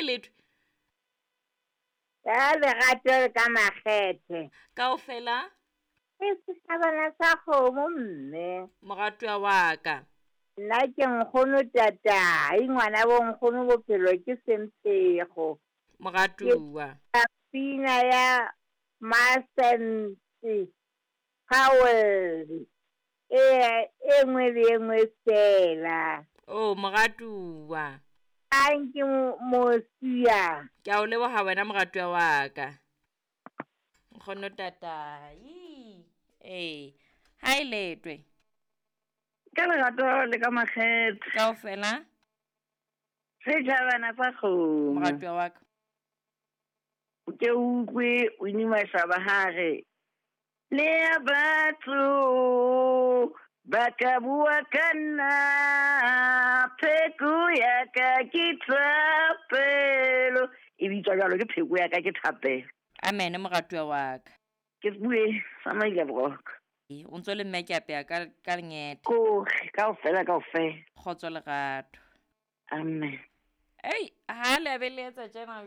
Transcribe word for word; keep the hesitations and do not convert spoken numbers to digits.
Ha e letho. Ka lerato le ka makgethe. Kaofela. Ke setjhabana sa kgomo mme. Moratuwa wa ka. Nna ke nkgono tatai, ngwana bo nkgono bophelo ke semphego. Moratuwa. Ke pina ya Masente Powell e e nngwe le e nngwe fela. Oh, moratuwa. Anke mosia. Ke a o leboha wena moratuwa wa ka. Nkgono tatai. Eh, ha e letwe. Ka lerato le ka makgethe. Kaofela. Setjhabana sa kgomo. Moratuwa wa ka. O ke utlwe o inimashaba hare. Le ya batho ba ka bua ka nna, pheko ya ka ke thapelo. E bitswa jwalo ke pheko ya ka ke thapelo. Amen moratuwa wa ka. Ke bue sa maile boroko. O ntso le mme ke apeya ka ka lengete. Koge kaofela kaofela. Kgotso lerato. Amen. Ei, ha le be le etsa tjena.